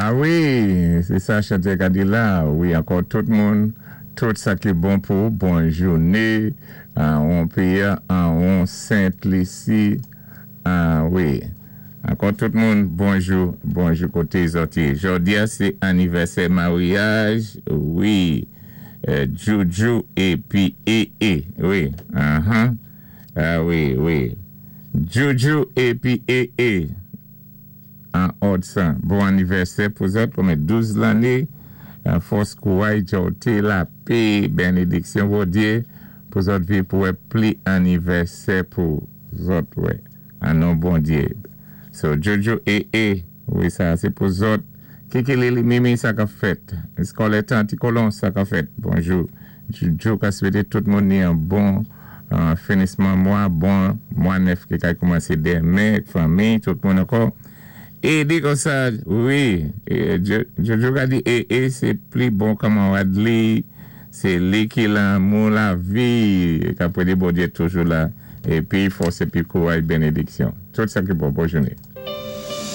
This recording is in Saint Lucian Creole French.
A wi, sé sa chanté ka di la. Wi, ankò tout moun, tout sa ki bon pou bon jouné, an péyi an Sent Lisi. A wi. Ankò tout moun, bonjou, bonjou koté zòt yé. Jòdi a sé anivèsè maryaj, wi, Djoudjou épi EE, wi, anhan, a wi, wi. Djoudjou épi EE an òd san. Bon anivèsè pou zòt, kòmè 12 lanné, fòs, kouray, djòté, lapé, bènédiksyon Bondyé pou zòt viv pou wè pli anivèsè pou zòt wè. An non Bondye. So Jojo ee wi sa se pou zòt. Kiki Lili Mimi sa kap fèt. Eskolè Tanti Kolon sa kap fèt. Bonjou Jojo ka swete tout moun ni yon bon finisman mwa bon mwa 9 ki kay koumanse demen ak fanmi tout moun ankò. E di konsa wi Jojo ka di ee se pli bon kanmarad li se li ki lanmou lavi ka prede Bondye toujou la epi fòs epi kouray benediksyon tout sa ki bon bon jounen.